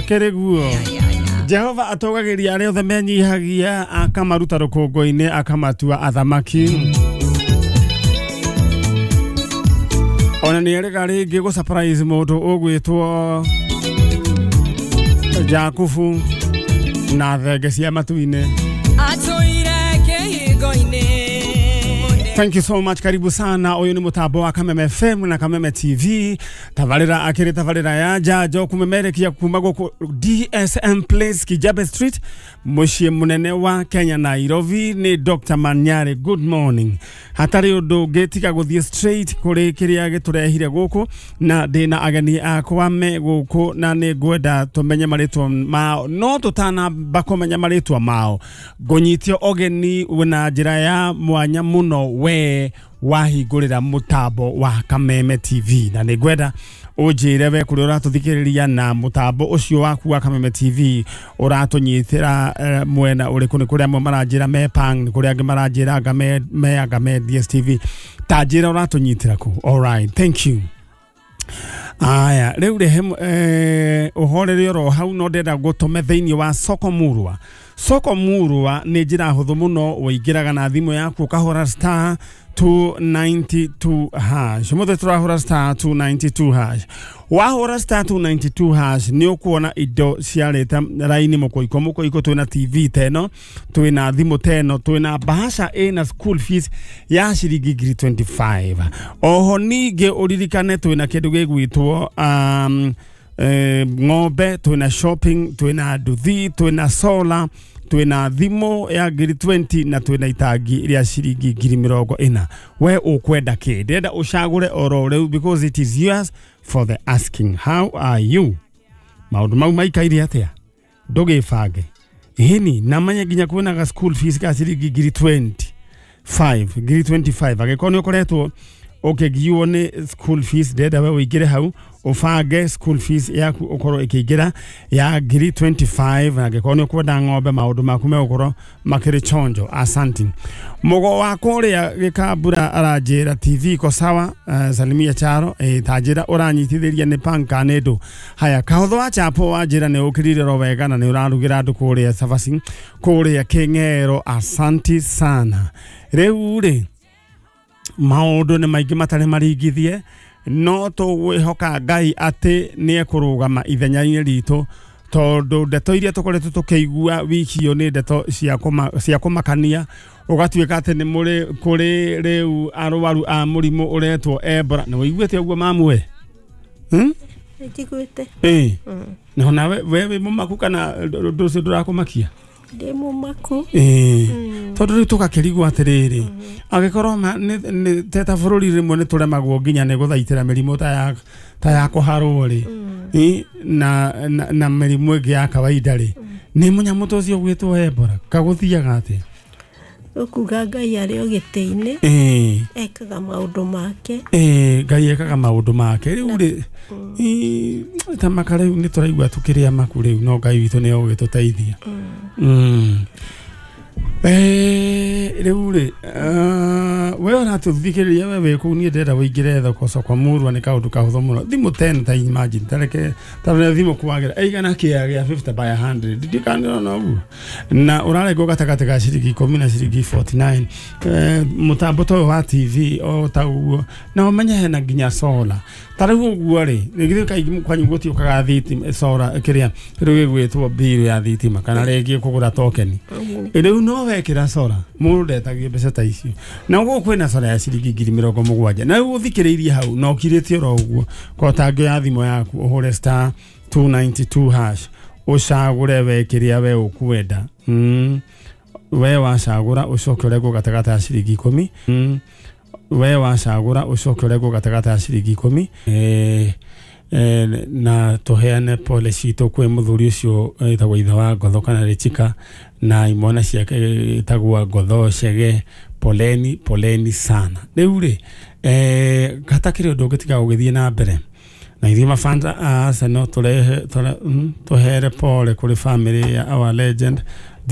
Gũkĩrĩ guo. Jehova atũgagĩria arĩa othe menyihagia, akamaruta rũkũngũ-inĩ, akamatua athamaki. Ona nĩ erĩga rĩngĩ gũ surprise mũndũ ũgwĩtwo Jakubu na thenge cia matu-inĩ. Atũire kĩhingo-inĩ. Thank you so much. Karibu sana. Ũyũ nĩ mũtambo wa Kameme FM na Kameme TV. Tabarĩra akĩrĩ tabarĩra ya njanjo kumemerekia kuma gũkũ DSM Place, Kijabe Street, mũciĩ mũnene wa Kenya, Nairobi. Nĩ Dr. Manyare. Good morning. Hatarĩ ũndũ ũngĩ tiga gũthiĩ straight kũrĩ kĩrĩa gĩtũrehire gũkũ, na ndĩna ageni akwa me gũkũ na nĩ ngwenda tũmenye marĩtwa mao, no tũtanamba kũmenya marĩtwa mao, ngũnyitio ũgeni na njĩra ya mwanya mũno we wahingũrĩra mũtambo wa Kameme TV, na nĩ ngwenda ũnjĩre we kũrĩa ũratũthikĩrĩria na mũtambo ũcio waku wa Kameme TV ũratũnyitĩra mwena ũrĩkũ. Nĩ kũrĩa amwe maranjĩra me Pang, nĩ kũrĩa angĩ maranjĩra anga me anga me DSTV. Ta njĩra ũratũnyitĩra kũ. Alright, thank you. Aya, rĩu rehe ũhorere oro hau, no ndĩrenda gũtũme thĩinĩ wa soko murwa. Soko murwa nĩ njĩra hũthũ mũno, ũingĩraga na thimũ yaku ũkahũra star 292 hash. Ũmũthĩ tũrahũra star 292 hash. Wahũra star 292 hash nĩ ũkuona indo ciarĩte raini mũkũiko mũkũiko. Twĩna TV teno, twĩna thimũ teno, twĩna bahasha ĩna school fees ya ciringi ngiri 25. Oho ningĩ ũririkane twĩna kĩndũ gĩgwĩtwo ng'ombe, twĩna shopping, twĩna nduthi, twĩna solar, twĩna thimũ ya ngiri 20 na twĩna itangi rĩa ciringi ngiri 40. We ũkwenda kĩ? Ndĩrenda ũcagũre oro rĩu because it is yours for the asking. How are you? Maũndũ mau maikaire atĩa? Ndũgĩbange hini na manye nginya kwĩna ga school fees ka ciringi ngiri 25, ngiri 25. Angĩkorwo nĩ ũkoretwo ũkĩgiwo nĩ school fees, ndĩrenda we ũingĩre hau ũbange school fees yaku ũkorwo ĩkĩingĩra ya ngiri 25, na angĩkorwo nĩ ũkwenda ng'ombe, maũndũ maku megũkorwo makĩrĩ chonjo. Asanti. Mũgo wa kũrĩa gĩkambura aranjĩra TV iko sawa. Salimia Charo. Ta njĩra ũranyitithĩria nĩ panka nĩ ndũ. Haya, kahotho wa chapo wanjĩra nĩ ũkĩrire ro wega na nĩ ũrarugĩra andũ kũrĩa cabaci kũrĩa Kĩng'ero. Asanti sana. Rĩu rĩ, maũndũ nĩ maingĩ matarĩ maringithie, no tũgwĩhoka Ngai atĩ nĩ ekũrũgama ithenya-inĩ ritũ, tondũ ndeto iria tũkoretwo tũkĩigua wiki ĩyo nĩ ndeto cia kũmakania. Ũgatuĩka atĩ nĩ mũrĩ kũrĩ rĩu arwaru a mũrimũ ũretwo Ebola. Nĩ wĩiguĩte ũguo mamwe? Njiguĩte. Ĩĩ, na nawe we wĩ mũmaku kana ũndũ ũcio ndũrakũmakia? Ndĩ mũmaku. Ĩĩ, tondũ rĩu tũgakĩrigwo atĩrĩrĩ, angĩkorwo te ta bũrũri rĩmwe nĩ tũremagwo nginya nĩ gũthaitĩra mĩrimũ ta ya kũharwo rĩ, ĩ, na mĩrimũ ĩngĩ ya kawaida rĩ, nĩ mũnyamũ ta ũcio gwĩtwo Ebola kagũthiaga atĩa? Ũkuga Ngai arĩ o gĩtĩ-inĩ, ekaga maũndũ make. Ĩĩ, Ngai ekaga maũndũ make. Rĩu rĩ, ĩ, ta maka rĩu nĩ tũraigua tũkĩrĩa maku rĩu, no Ngai witũ nĩ egũgĩtũteithia. Rĩu rĩ, we ũratũthikĩrĩria we wĩ kũu, niĩ ndĩrenda ũingĩre thoko soko murwa. Nĩ kaũndũ kahũthũ mũno. Thimũ 10, ta imagine, tareke tareke thimũ kwagĩra ĩigana kĩa gĩa 50 by 100, ndikanĩrona ũguo, na ũrarengwo gatagatĩ ga ciringi 10 na ciringi 49. Mũtambo ta ũyũ wa TV o ta ũguo, na ũmenye hena nginya solar. Ta rĩu ũguo rĩ, githĩ kaingĩ kwanyu gũtiũkaga thitima, solar kĩrĩa rĩu gĩgwĩtwo bill ya thitima kana rĩngĩ kũgũra tokeni? Rĩu no wekĩra solar, mũndũ ndetagio mbeca ta icio. Na gũkũ kwĩna solar ya ciringi ngiri 70, na rĩu ũthikĩrĩirie hau na ũkirĩte oro ũguo, kotangio ya thimũ yaku ũhũre star 292 hash, ũcagũre we kĩrĩa we ũkwenda. We wacagũra ũcoke ũrengwo gatagatĩ ga ciringi 10. We wacagũra ũcoke ũrengwo gatagatĩ ga ciringi 10. Na tũheane pole citũ kwĩ mũthuri ũcio ĩtagwo ithe wa Ngotho kana Rĩchika na imwana ciake ĩtagwo Ngotho Chege. Poleni, poleni sana. Rĩu rĩ, hatakĩrĩ ũndũ ũngĩ tiga gũgĩthiĩ na mbere na ithuĩ mafans a Arsenal tũrehe tũhere pole kũrĩ family ya our legend.